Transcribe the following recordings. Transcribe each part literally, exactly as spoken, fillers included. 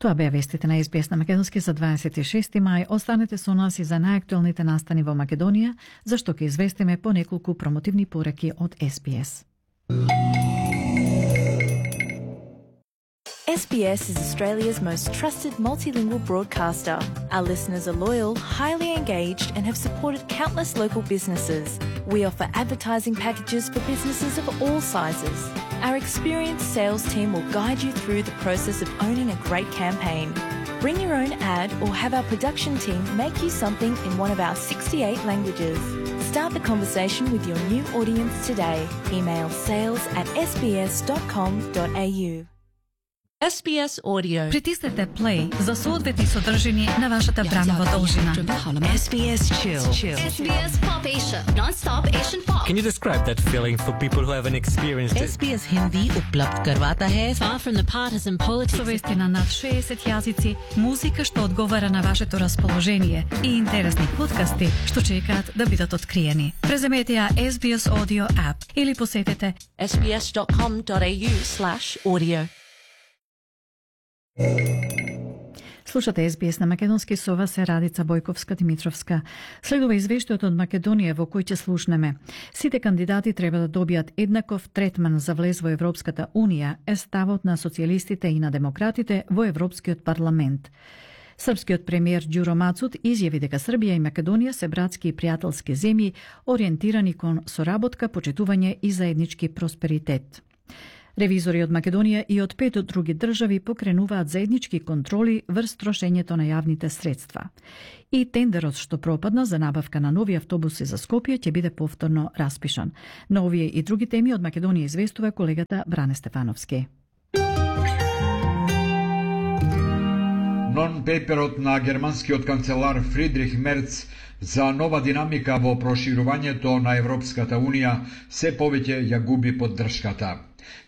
Тоа беа вестите на Ес Би Ес на македонски за дваесет и шести мај. Останете со нас и за најактуелните настани во Македонија, зашто ќе известиме по неколку промотивни пораки од Ес Би Ес. S B S is Australia's most trusted multilingual broadcaster. Our listeners are loyal, highly engaged, and have supported countless local businesses. We offer advertising packages for businesses of all sizes. Our experienced sales team will guide you through the process of owning a great campaign. Bring your own ad or have our production team make you something in one of our sixty-eight languages. Start the conversation with your new audience today. Email sales at s b s dot com dot a u. Ес Би Ес Audio. Притиснете play за соодветни содржини на вашата бранова должина. Ес Би Ес Chill. S B S Pop Asia, non-stop Asian pop. Can you describe that feeling for people who haven't experienced it? Ес Би Ес Hindi उपलब्ध करवाता है far from the partisan politics. Со вести на над шеесет јазици, музика што одговара на вашето расположение и интересни подкасти што чекаат да бидат откриени. Преземете ја Ес Би Ес Audio app или посетете s b s dot com dot a u slash audio. Слушате Ес Би Ес на македонски, со вас е Радица Бојковска-Димитровска. Следува извештајот од Македонија во кој ќе слушнеме. Сите кандидати треба да добијат еднаков третман за влез во Европската Унија, е ставот на социјалистите и на демократите во Европскиот парламент. Српскиот премиер Ѓуро Мацут изјави дека Србија и Македонија се братски и пријателски земји, ориентирани кон соработка, почитување и заеднички просперитет. Ревизори од Македонија и од пет други држави покренуваат заеднички контроли врз трошењето на јавните средства. И тендерот што пропадна за набавка на нови автобуси за Скопје ќе биде повторно распишан. На овие и други теми од Македонија известува колегата Бране Стефановски. Нон-пейперот на германскиот канцелар Фридрих Мерц за нова динамика во проширувањето на Европската Унија се повеќе ја губи поддршката.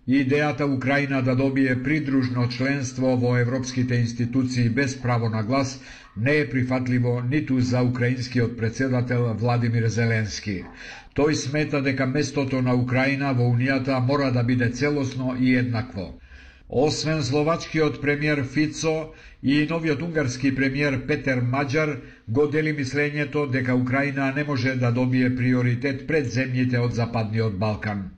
Идејата Украина да добие придружно членство во европските институции без право на глас не е прифатливо ниту за украинскиот председател Владимир Зеленски. Тој смета дека местото на Украина во Унијата мора да биде целосно и еднакво. Освен словачкиот премиер Фицо и новиот унгарски премиер Петер Маџар го дели мислењето дека Украина не може да добие приоритет пред земјите од Западниот Балкан.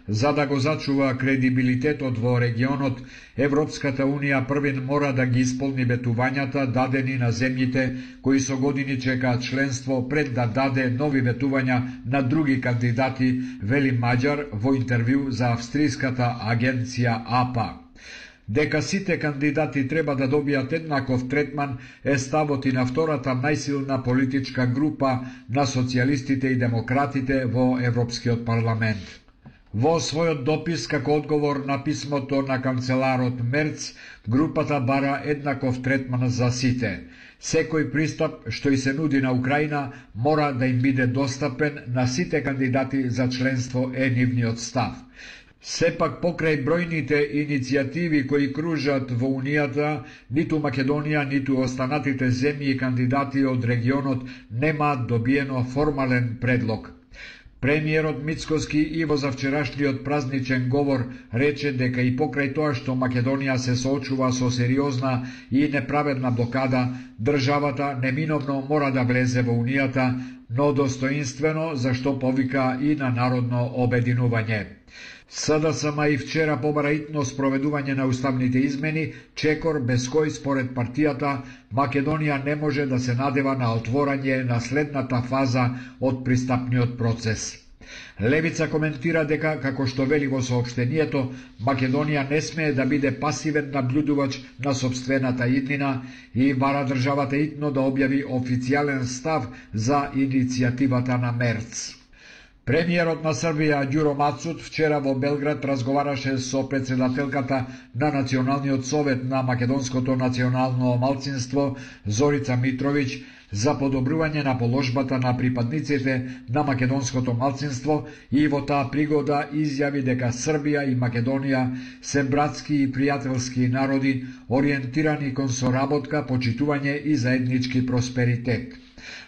За да го зачува кредибилитетот во регионот, Европската Унија првин мора да ги исполни ветувањата дадени на земјите кои со години чекаат членство пред да даде нови ветувања на други кандидати, вели Маџар во интервју за австриската агенција А П А. Дека сите кандидати треба да добијат еднаков третман е ставот и на втората најсилна политичка група на социјалистите и демократите во Европскиот парламент. Во својот допис како одговор на писмото на канцеларот Мерц, групата бара еднаков третман за сите. Секој пристап што и се нуди на Украина мора да им биде достапен на сите кандидати за членство е нивниот став. Сепак покрај бројните иницијативи кои кружат во Унијата, ниту Македонија, ниту останатите земји и кандидати од регионот немаат добиено формален предлог. Премиерот Мицкоски и во завчерашниот празничен говор рече дека и покрај тоа што Македонија се соочува со сериозна и неправедна блокада, државата неминовно мора да влезе во Унијата, но достоинствено, зашто повика и на народно обединување. С Д С М и вчера побара итно спроведување на уставните измени, чекор без кој според партијата Македонија не може да се надева на отворање на следната фаза од пристапниот процес. Левица коментира дека, како што вели во соопштението, Македонија не смее да биде пасивен наблюдувач на сопствената иднина и бара државата итно да објави официјален став за иницијативата на Мерц. Премиерот на Србија Ѓуро Мацут вчера во Белград разговараше со председателката на Националниот совет на македонското национално малцинство Зорица Митровиќ за подобрување на положбата на припадниците на македонското малцинство и во таа пригода изјави дека Србија и Македонија се братски и пријателски народи ориентирани кон соработка, почитување и заеднички просперитет.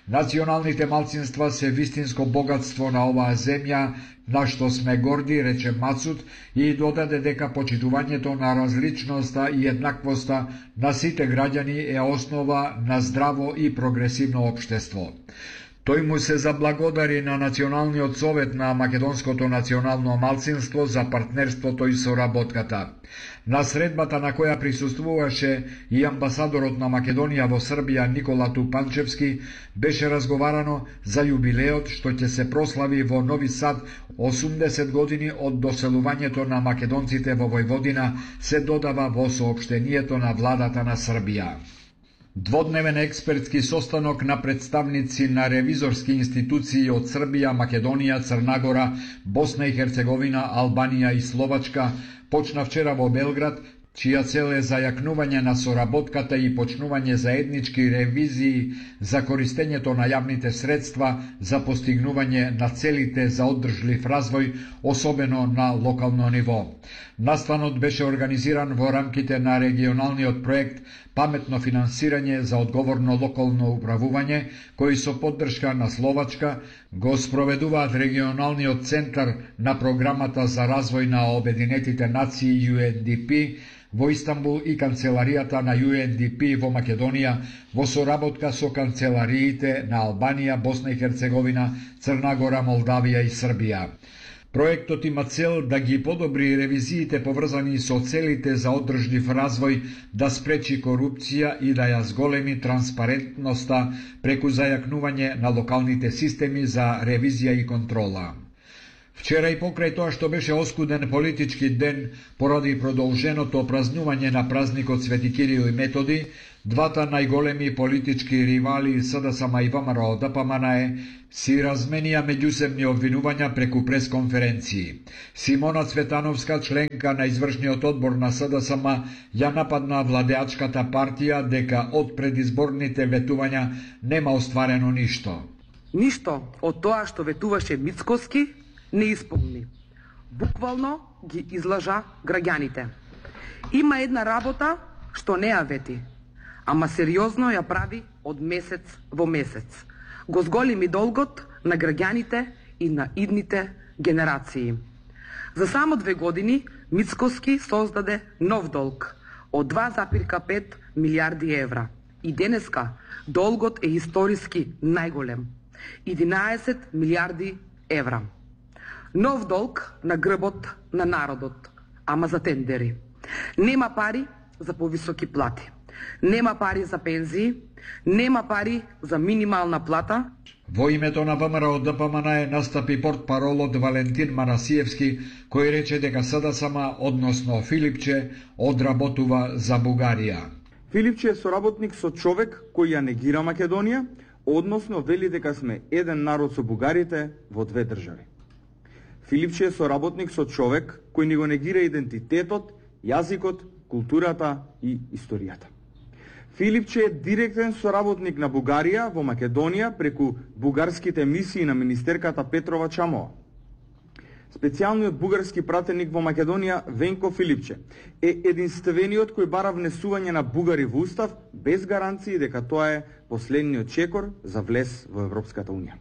Националните малцинства се вистинско богатство на оваа земја, на што сме горди, рече Мацут, и додаде дека почитувањето на различноста и еднаквоста на сите граѓани е основа на здраво и прогресивно општество. Тој му се заблагодари на Националниот совет на Македонското национално малцинство за партнерството и соработката. На средбата на која присуствуваше и амбасадорот на Македонија во Србија Никола Тупанчевски, беше разговарано за јубилеот што ќе се прослави во Нови Сад осумдесет години од доселувањето на македонците во Војводина, се додава во соопштението на владата на Србија. Дводневен експертски состанок на представници на ревизорски институции од Србија, Македонија, Црна Босна и Херцеговина, Албанија и Словачка почна вчера во Белград, чија цел е зајакнување на соработката и почнување заеднички ревизии за користењето на јавните средства за постигнување на целите за оддржлив развој, особено на локално ниво. Настанот беше организиран во рамките на регионалниот проект Паметно финансирање за одговорно локално управување, кој со поддршка на Словачка го спроведуваат регионалниот центар на програмата за развој на Обединетите нации Ю Ен Ди Пи во Истанбул и канцеларијата на Ю Ен Ди Пи во Македонија во соработка со канцелариите на Албанија, Босна и Херцеговина, Црна Гора, Молдавија и Србија. Проектот има цел да ги подобри ревизиите поврзани со целите за оддржлив развој, да спречи корупција и да ја зголеми транспарентноста преку зајакнување на локалните системи за ревизија и контрола. Вчера и покрај тоа што беше оскуден политички ден поради продолженото празнување на празникот Свети Кирил и Методи, двата најголеми политички ривали С Д С М и ВМРО Д П М Н Е си разменија меѓусебни обвинувања преку пресконференции. Симона Цветановска, членка на извршниот одбор на С Д С М, ја нападна владеачката партија дека од предизборните ветувања нема остварено ништо. Ништо од тоа што ветуваше Мицкоски не исполни. Буквално ги излажа граѓаните. Има една работа што не ја вети, ама сериозно ја прави од месец во месец. Го зголеми долгот на граѓаните и на идните генерации. За само две години Мицкоски создаде нов долг од два запирка пет милиарди евра. И денеска долгот е историски најголем – единаесет милиарди евра. Нов долг на грбот на народот, ама за тендери. Нема пари за повисоки плати. Нема пари за пензии, нема пари за минимална плата. Во името на ВМРО Д П М Н Е настапи портпаролот Валентин Манасиевски, кој рече дека С Д С М, односно Филипче, одработува за Бугарија. Филипче е соработник со човек кој ја негира Македонија, односно вели дека сме еден народ со бугарите во две држави. Филипче е соработник со човек кој ни го негира идентитетот, јазикот, културата и историјата. Филипче е директен соработник на Бугарија во Македонија преку бугарските мисии на министерката Петрова Чамова. Специјалниот бугарски пратеник во Македонија Венко Филипче е единствениот кој бара внесување на бугари во устав без гаранции дека тоа е последниот чекор за влез во Европската унија.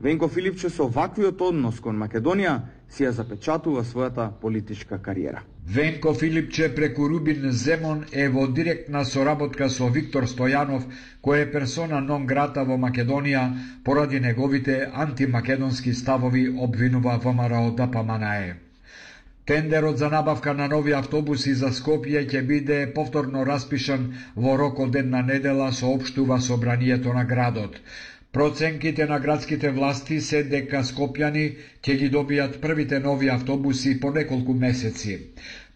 Венко Филипче со ваквиот однос кон Македонија си ја запечатува својата политичка кариера. Венко Филипче преку Рубин Земон е во директна соработка со Виктор Стојанов, кој е персона нон грата во Македонија поради неговите антимакедонски ставови, обвинува ВМРО Д П М Н Е. Тендерот за набавка на нови автобуси за Скопје ќе биде повторно распишан во рок од една недела, соопштува собранието на градот. Проценките на градските власти се дека скопјани ќе ги добијат првите нови автобуси по неколку месеци.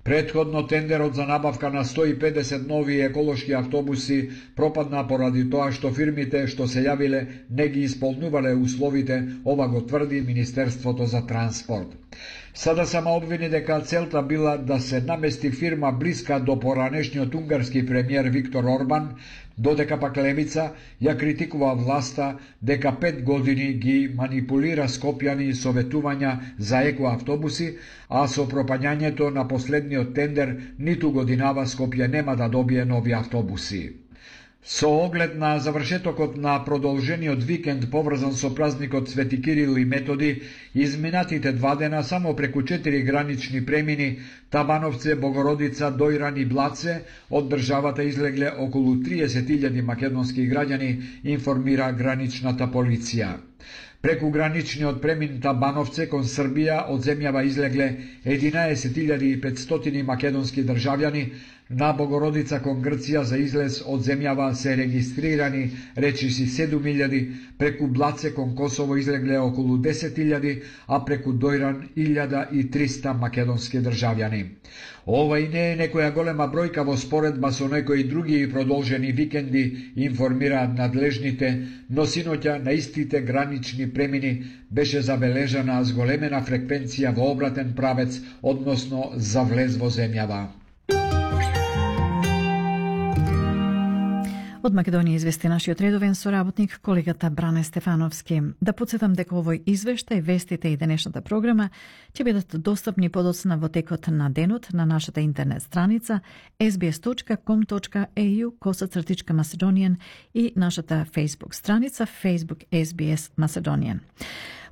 Претходно тендерот за набавка на сто и педесет нови еколошки автобуси пропадна поради тоа што фирмите што се јавиле не ги исполнувале условите, ова го тврди Министерството за транспорт. Сада сама обвини дека целта била да се намести фирма блиска до поранешниот унгарски премиер Виктор Орбан, додека пак Левица ја критикува власта дека пет години ги манипулира скопјани со ветувања за екоавтобуси, а со пропаѓањето на последниот тендер ниту годинава Скопје нема да добие нови автобуси. Со оглед на завршетокот на продолжениот викенд поврзан со празникот Свети Кирил и Методи, изминатите два дена само преку четири гранични премини Табановце, Богородица, Дојран и Блаце од државата излегле околу триесет илјади македонски граѓани, информира граничната полиција. Преку граничниот премин Табановце кон Србија од земјава излегле единаесет илјади и петстотини македонски државјани, на Богородица кон Грција за излез од земјава се регистрирани речиси седум илјади, преку Блаце кон Косово излегле околу десет илјади, а преку Дојран илјада и триста македонски државјани. Ова и не е некоја голема бројка во споредба со некои други продолжени викенди, информираат надлежните, но синоќа на истите гранични премини беше забележана зголемена фреквенција во обратен правец, односно за влез во земјава. Од Македонија извести нашиот редовен соработник, колегата Бране Стефановски. Да подсетам дека овој извештај, вестите и денешната програма ќе бидат достапни подоцна во текот на денот на нашата интернет страница ес би ес точка ком точка е ю косацртичка Macedonian и нашата Facebook страница Facebook ес би ес Macedonian.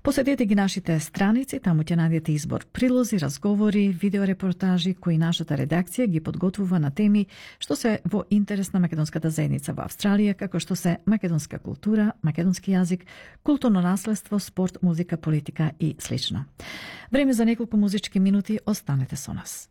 Посетете ги нашите страници, таму ќе најдете избор прилози, разговори, видеорепортажи кои нашата редакција ги подготвува на теми што се во интерес на македонската заедница во Австралија, како што се македонска култура, македонски јазик, културно наследство, спорт, музика, политика и слично. Време за неколку музички минути, останете со нас.